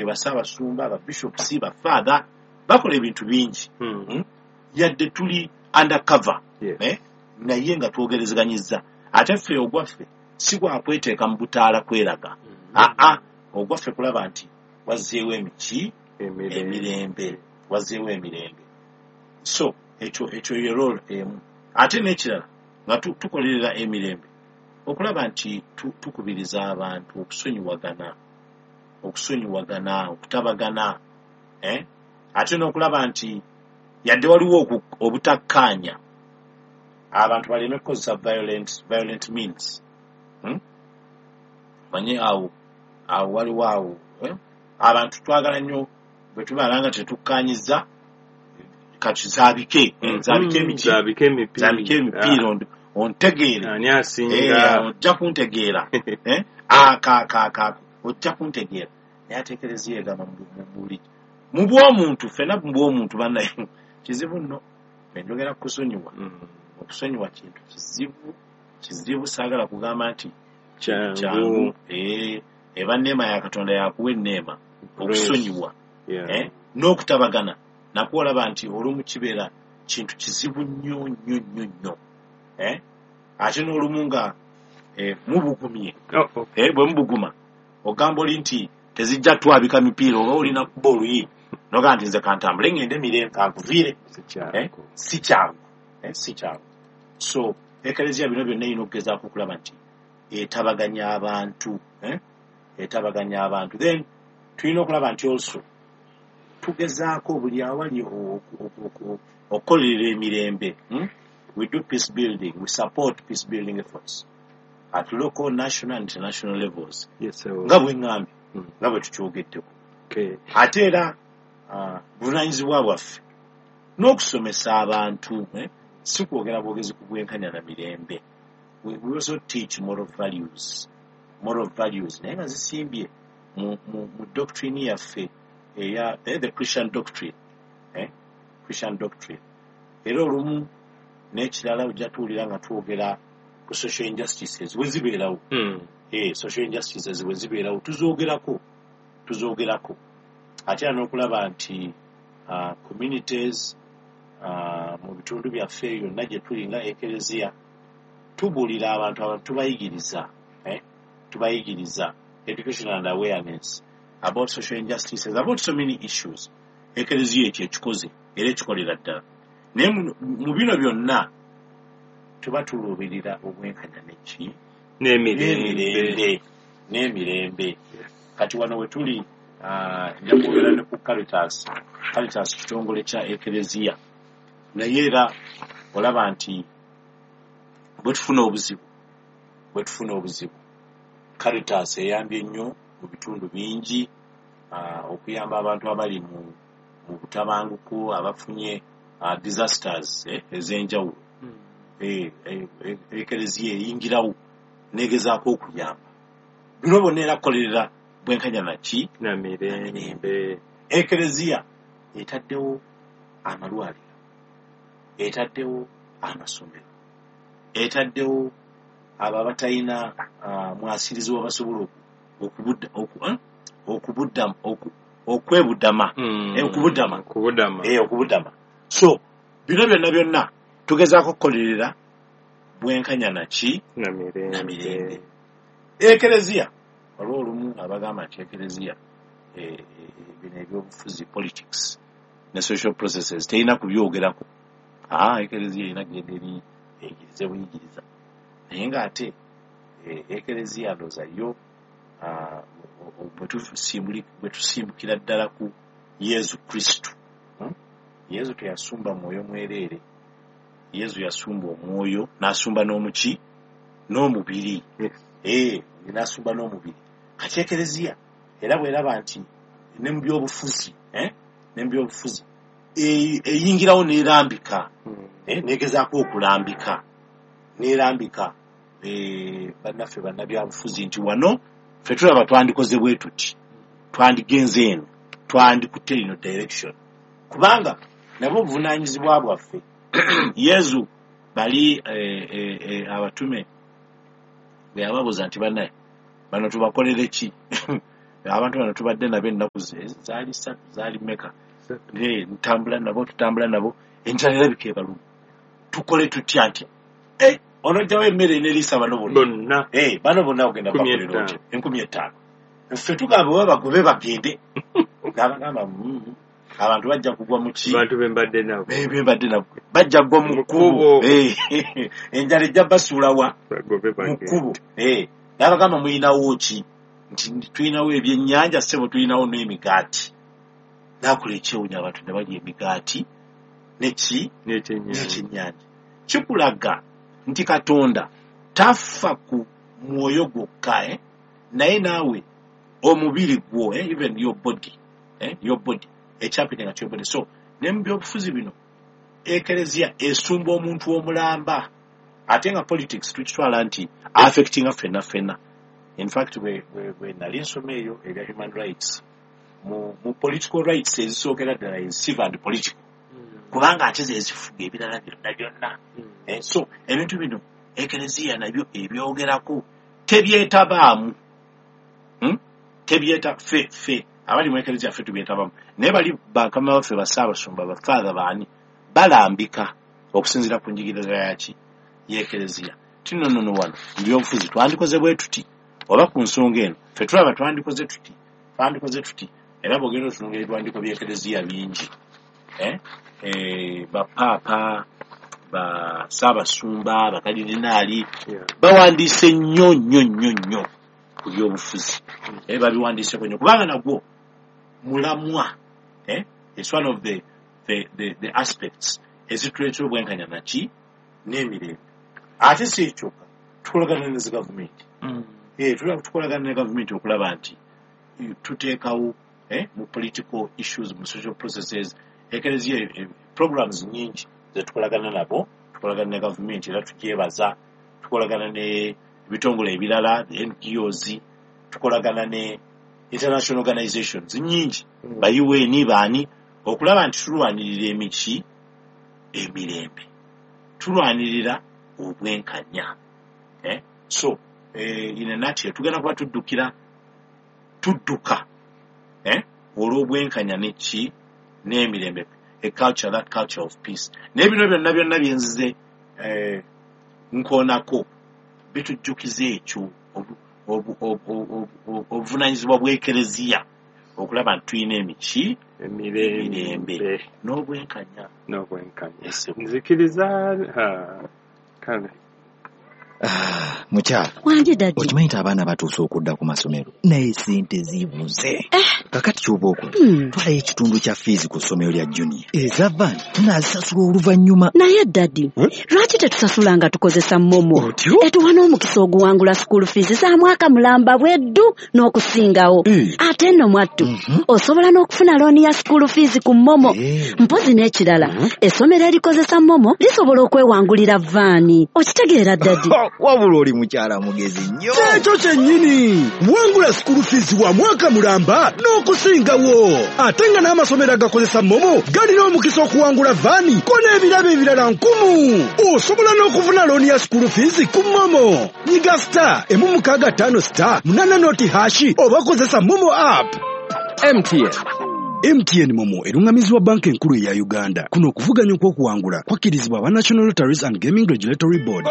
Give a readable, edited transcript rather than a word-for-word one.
Bassaabasumba, babishops, bafather bakola ebintu bingi. Yadde tuli undercover, naye nga twogerezeganyizza. Ate ffe ogwaffe si gwakweteeka mu butaala kweraga. Aa, ogwaffe kulaba nti wazzeewo emiki emirembe, wazzeewo emirembe. So ekyo ye role emu. Ate n'ekirala nga tukolerera emirembe, okulaba nti tukubiriza abantu okusonyiwagana, okutabagana, eh? Ate n'okulaba nti yadde waliwo obutakkaanya, abantu baleme kukozesa violent means. Manye awo waliwo awo, eh? Abantu twagala nnyo bwe tubeera nga tetukkaanyiza, kati zaabike, zaabike emiki, zaabike emipiira, zaabike emipiira, ontegeere. Ani asinga? Ojja kuntegeera, eh? Aka ojja kuntegeera. Naye ate Ekereziya egamba buli mu bw'omuntu, ffenna mu bw'omuntu bannaye kizibu nno. Enjogera kusonyiwa, okusonyiwa kintu kizibu, kizibu. Saagala kugamba nti kyangu. Eba neema ya Katonda, yakuwa enneema okusonyiwa, n'okutabagana nakwo. Olaba nti olumu kibeera kintu kizibu nnyo nnyo nnyo nnyo, ate n'olumu nga mubugumye. Bwe mubuguma, ogamba oli nti tezijja twabika mipiira, oba olina kuba oluyi nogamba nti nze kantambule ngende mirembe, kankuviire. Si kyangu, si kyangu. So Ekereziya bino byonna erina okugezaako okulaba nti etabaganya abantu, etabaganya abantu. Then tulina okulaba nti also tugezaako buli awali okukolerera emirembe. We do peace building, we support peace building efforts at local, national and international levels, nga bwe ŋŋambye, nga bwe tukyogeddeko. Ate era buvunaanyizibwa bwaffe n'okusomesa abantu, si kwogera bwogezi ku bwenkanya na mirembe. We also teach moral values, moral values, naye nga zisimbye mu doctrine yaffe eya the Christian doctrine, Christian doctrine. Era olumu n'ekirala ojja tuwulira nga twogera ku social injustices bwe zibeerawo. Social injustices bwe zibeerawo tuzoogerako, tuzoogerako. Ate era n'okulaba nti communities mu bitundu byaffe yonna gye tuli nga Ekereziya tubuulira abantu, abantu tubayigiriza, tubayigiriza education and awareness about social injustices, about so many issues. Ekereziya ekyo ekikoze era ekikolera ddala. Naye mu bino byonna tuba tuluubirira obwenkanya neki? N'emirembe. N'emirembe. Kati wano we tuli, nja kwogera ne ku Caritas. Caritas kitongole kya Ekereziya, naye era olaba nti bwe tufuna obuzibu, Caritas eyambye nnyo mu bitundu bingi, okuyamba abantu abali mu butabanguko, abafunye disasters ez'enjawulo. Ekereziya eyingirawo negezaako okuyamba. Bino bonna era kukolerera bwenkanya naki? Na mirembe. Ekereziya etaddewo amalwaliro, etaddewo amasomero, etaddewo abo abatalina mwasirizi we basobola okwebudama. Okubudama. Okubudama. Okubudama. So bino byonna byonna tugezaako okukolerera bwenkanya naki? Na mirembe. Na mirembe. Ekereziya, waliwo olumu abagamba nti Ekereziya, bino ebyobufuzi, politics ne social processes, terina kubyogerako. Ekereziya erina genda eri eyigirize buyigiriza. Naye ng'ate Ekereziya ndooza yo, bwe tusimbukira ddala ku Yesu Kristo, Yesu teyasumba mwoyo mwereere. Yesu yasumba omwoyo n'asumba n'omuki? N'omubiri. N'asumba n'omubiri. Kati Ekereziya era bweraba nti ne mu byobufuzi, ne mu byobufuzi eyingirawo n'erambika, negezaako okulambika, n'erambika bannaffe bannabyabufuzi nti wano ffe tulaba twandikoze bwe tuti, twandigenze eno, twandikutte ino direction, kubanga nabo obuvunaanyizibwa bwaffe. Yesu bali abatume bwe yababuuza nti, "Bannaye, bano tubakolere ki?" Abantu bano tubadde nabo ennaku zaali 3, zaali meka, ntambula nabo, tutambula nabo, enjala erabika ebaluma, tukole tutya nti onojjawo emmere eneriisa bano bonna, bano bonna ogenda bakolera otya 5,000. Ffe tugamba oba bagobe bagende, n'abagamba abantu bajja kugwa mu ki, bantu bembadde nabo bajja kugwa mu kkubo, enjala ejja basuulawa mu kkubo. N'abagamba muyinawo ki, nti tulinawo ebyennyanja ssebo, tulinawo n'emigaati. N'akola ekyewuunyo, abantu ne balya emigaati neki n'ekyennyanja. Kikulaga nti Katonda tafa ku mwoyo gwokka, naye naawe omubiri gwo, even your body, your body ekyapinga to your body. So ne mu byobufuzi bino ekereziya esumba omuntu omulamba, ate nga politics tukitwala nti affectinga ffenna ffenna. In fact, we nali nsoma eyo ebya human rights, mu political rights ezisookera ddala is civil and political, kubanga ate ze zifuga ebirala byonna byonna. So ebintu bino ekereziya nabyo ebyogerako tebyetabaamu, tebyeta ffe abali mu ekereziya ffe tubyetabamu, naye bali bakama baffe bassaabasumba bafaatha baani balambika okusinziira ku njigiriza yaki y'ekereziya. Tino nno wano mu byobufuzi twandikoze bwe tuti, oba ku nsonga eno ffe tulaba twandikoze tuti. Era bw'ogenda otunula ebiwandiiko by'ekereziya bingi, bapaapa, bassaabasumba, bakalidinaali bawandiise nnyo nnyo nnyo nnyo ku byobufuzi, babiwandiiseko nnyo kubanga nagwo mulamwa. It's one of the aspects ezituleetera obwenkanya naki n'emirembe. Ate si ekyokka, tukolagana ne zi gavumenti, tukolagana ne gavumenti okulaba nti tuteekawo mu political issues, mu social processes. Ekereziya programs nyingi zetukolagana nabo, tukolagana ne gavumenti era tugyebaza, tukolagana ne ebitongole ebirala, the NGOs, tukolagana ne international organizations nyingi, ba UN baani, okulaba nti tulwanirira emiki emirembe, tulwanirira obwenkanya. So in a nutshell, tugenda kuba tudduka olw'obwenkanya neki n'emirembe, a culture, that culture of peace. Naye bino byonna byonna byenzize nkoonako bitujjukiza ekyo obuvunaanyizibwa bw'ekereziya okulaba nti tulina emiki emirembe n'obwenkanya. Nzikiriza kale. Mukyala okimanyi nti abaana batuuse okudda ku masomero, naye sente zibuze. Kakati ky'oba okola, twalayo ekitundu kya fiizi ku ssomero lya junior, eza van tunaazisasula oluvannyuma. Naye daddy, lwaki tetusasula nga tukozesa MoMo? Etuwa n'omukisa oguwangula school fees za mwaka mulamba bweddu n'okusingawo. Ate nno mwattu, osobola n'okufuna looni ya school fees ku MoMo. Mpozi n'ekirala, essomero erikozesa MoMo lisobola okwewangulira vaani. Okitegeera daddy? Wabula oli mukyala mugezi nnyo. Kyekyo kyennyini, wangula school fees wa mwaka mulamba n'okusingawo. Ate nga n'amasomero agakozesa MoMo galina omukisa okuwangula vaani ko n'ebirabo ebirala 1000. Osobola n'okufuna looni ya school fees ku MoMo. Nyiga *165 *8# oba kozesa MoMo app. MTN MoMo erungamizibwa banka enkulu eya Uganda. Kuno okuvuganya okw'okuwangula kwakkirizibwa aba National Lotteries and Gaming Regulatory Board.